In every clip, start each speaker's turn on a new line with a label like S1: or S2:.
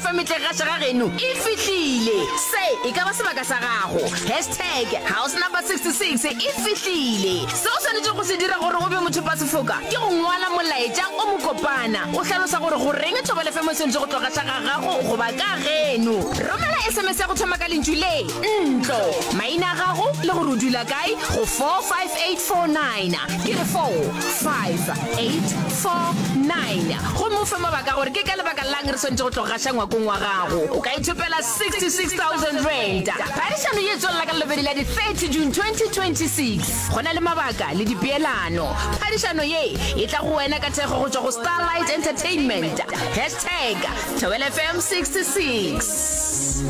S1: FM e tle gaša ga geno e fihlile. Se e ka ba sebaka sa gago. Hashtag house number 66 e fihlile. Se o swanetšego go se dira gore o be mothopasefoka ke go ngwala molaetša o mokopana o hlalosa gore goreng Thobela FM e swanetše go tlo gaša ga gago goba ka geno. Romela SMS ya go thoma ka lentšu le, ntlo, maina a gago le gore o dula kae go 45849. Ke re 45849. Gomme o fe mabaka gore ke ka lebaka la'ng re swanetše go tlo gaša ngwakong wa gago. O ka ithopela R66,000. Phadišano ye e tswelela ka Lelobedi la di 30 June 2026. Go na le mabaka le dipeelano. Phadišano ye e tla go wena ka thekgo go tšwa go Starlight Entertainment. Hashtag Thobela FM 66.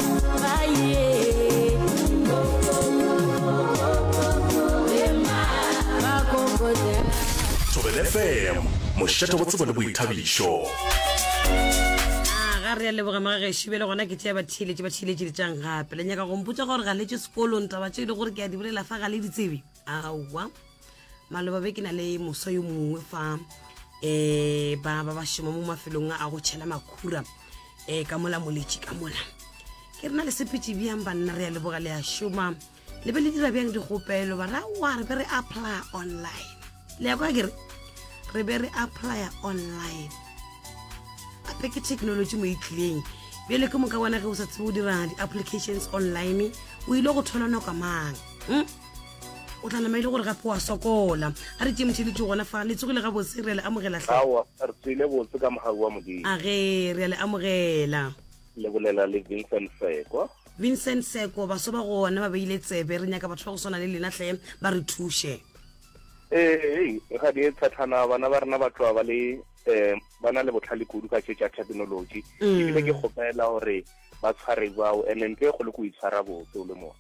S2: Thobela FM, mošate wa tsebo le boithabišo.
S3: A ga re a leboga magagešo bjale gona ke tšea batheeletši ba theeletši letšang gape le nyaka go mpotša gore ga le tše sekolong taba tše e le gore ke a di bolela fa ga le di tsebe aowa maloba be ke na le moswa yo mongwe fa um ba ba ba šoma mo mafelong a go tšhela makhura um ka mola moletši ka mola ke re na le sepetše bjang banna re a leboga le a šoma le be le dira bjang dikgopelo ba ra wa re be re apply online le ya kwa ke re re be re applya online gape ke technology mo e tlileng bjale ke moka bona ge o sa tsebe o dira di-applications online o ile go thola nako mang hmm? o tla nama e le gore gape wa sokola a re tšee motšheletši gona fa le tsogile gabotse re a le amogela hle
S4: Aowa, re tswile botse ka mogau wa Modimo.
S3: A ge re a le amogela.
S4: Le bolela le Vincent Seko.
S3: Vincent Seko, baso ba gona ba beile tsebe, re nyaka batho ba go swana le lena hle ba re thuše.
S4: Ee, hei, ga di e tshatlhana bana ba rena ba tloga ba le um ba na le botlhale kudu ka tše tša technology. Ebile ke kgopela gore ba tshware bao ene ntho e kgolo ke o itshwara botse o le moswa.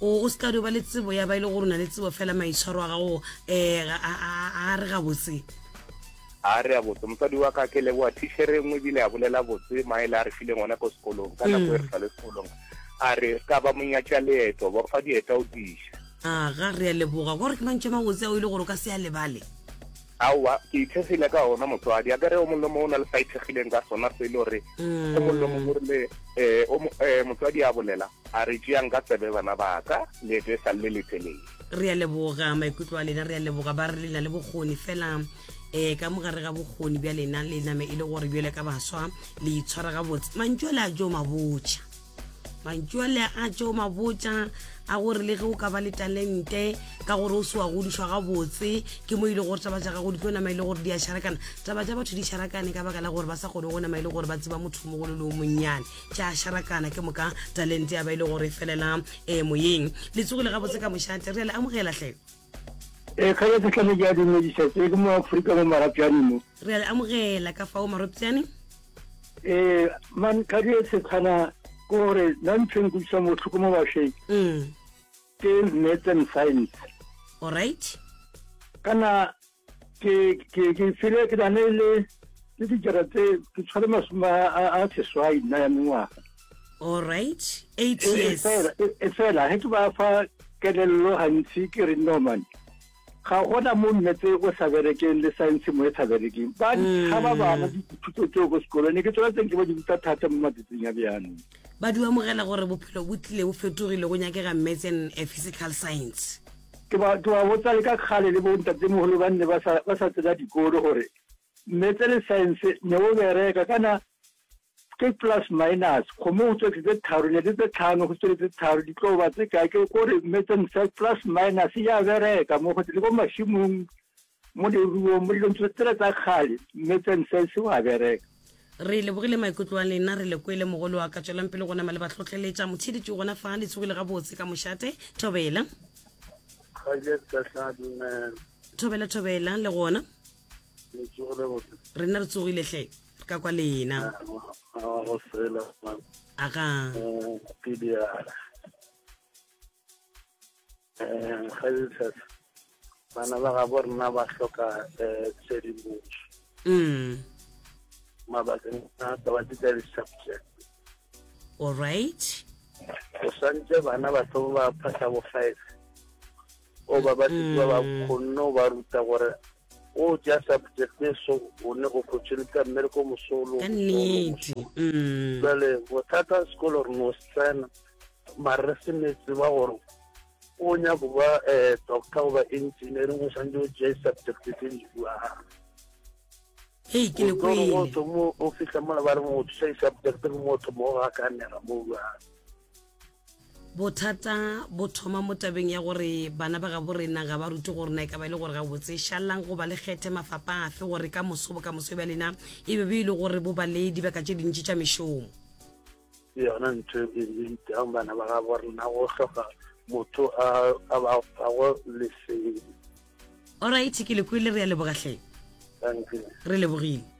S3: O o se ka dio ba le tsebo ya ba e le gore o na le tsebo fela maitshwaro a gago um a re gabotse.
S4: A re a botse mosadi wa ka ke leboa tichere e nngwe ebile a bolela botse maele a re fileng ona ko sekolong ka nako e re sa le sekolong a re ka ba monyatša leeto ba fa dieta o diša.
S3: A ga re a leboga gore ke mantšu a mabotse ao e le gore o ka se a lebale.
S4: Aowa, ke ithekgile ka ona motswadi. Akere o mongwe le mongwe o na le sa ithekgileng ka sona se e le gore o mongwe le mongwe o rile um motswadi a bolela a re tšeang ka tsebe bana ba ka leeto e sa le le letelele.
S3: Re a leboga maikutlo a lena, re a leboga ba re le na le bokgoni fela um ka mo gare ga bokgoni bja lena le name e le gore bjale ka baswa le itshwara gabotse. Mantšu ale a jo mabotša. Mantšu ale a tšeo mabotša a gore le ge o ka ba le talente ka gore o se wa godišwa gabotse ke mo e le gore taba tša gago di tlo nama e le gore di a šarakana. Taba tša batho di šarakane ka baka la gore ba sa kgone go nama e le gore ba tseba motho mogolo le o monnyane. Tša šarakana ke moka talente ya ba e le gore e felela um moyeng. Le tsogile gabotse ka mošate, re a le amogela hle.
S5: Ee, kgale ke hlame ke a dumediša tse ke mo Afrika mo Marapjane mo.
S3: Re a le amogela ka fao Marapjane.
S5: Ee, man kgadi e setshwana ke gore nna ntho e nkutlwisang bohloko mo bašweng
S3: mm.
S5: ke maths and science.
S3: All right.
S5: Kana ke ke ke file ke na le le le dijara tse ke tshware masome a seswai nna ya mengwaga.
S3: All right. 8 years.
S5: E fela ge ke ba fa kelello gantsi ke re no man ga gona mo mmetse o sa berekeng le science mo e sa berekeng ba mm. tshaba bana dithuto tseo ko sekolong ne ke tsona tseng ke ba di ruta thata mo matsatsing a bjanong
S3: ba di amogela gore bophelo bo tlile bo fetogile go nyakega maths and eh, physical science
S5: ke ba ke ba botsa le ka kgale le bontatemogolo ba nne ba sa ba sa tsena dikolo gore mmetse le science ne o bereka kana Ke plus minus, kgomo go tšwetše tse tharo, ne le tse tlhano, go tšwele tse tharo, di tlo ba tse kae? Ke ko re metseng sa plus minus ya bereka mo go le ko mašemong, mo leruong, mo dilong tsela tsa kgale, metseng sa se wa bereka.
S3: Re lebogile maikutlo a lena, re le kwele mogolo wa ka. Tšwelang pele go nama le ba hlohleletša. Motheeletši o gona fa, le tsogile gabotse ka mošate. Thobela. Thobela, thobela, le gona. Rena re tsogile hle. Re ka kwa lena. Aga.
S6: Bana ba gabo rena ba hloka tshedimošo.
S3: Mm.
S6: Mabakeng a taba tse tsa di-subject.
S3: All right.
S6: Go swantse bana ba tlo ba phasa bo five. O ba ba ba ba mm. kgonne go ba ruta gore. O tšea subject e so o ne opportunity ya mmereko mosolo.
S3: Ka nnete. Mm.
S6: Jale bothata sekolo re no se tsena mare re se ne tseba gore o nyako ba eh, doctor goba engineering o santse o tšee subject tse di buang.
S3: Hei ke le kwele.
S6: O thomo o fihla mola ba re motho sa subject ke motho mo ga ka nega mo bjang.
S3: Bothata bo thoma mo tabeng ya gore bana ba gabo rena ga ba rute gore na e ka ba e le gore gabotse šalang goba le kgethe mafapa afe gore ka moso bokamoso bja lena e be be e le gore bo ba le dibaka tše dintši tša mešomo.
S6: Ke yona ntho e iteang bana ba gabo rena go hloka motho a a ba fago lesedi.
S3: Alright, ke le kwele re a leboga hle.
S6: Thank you.
S3: Re lebogile.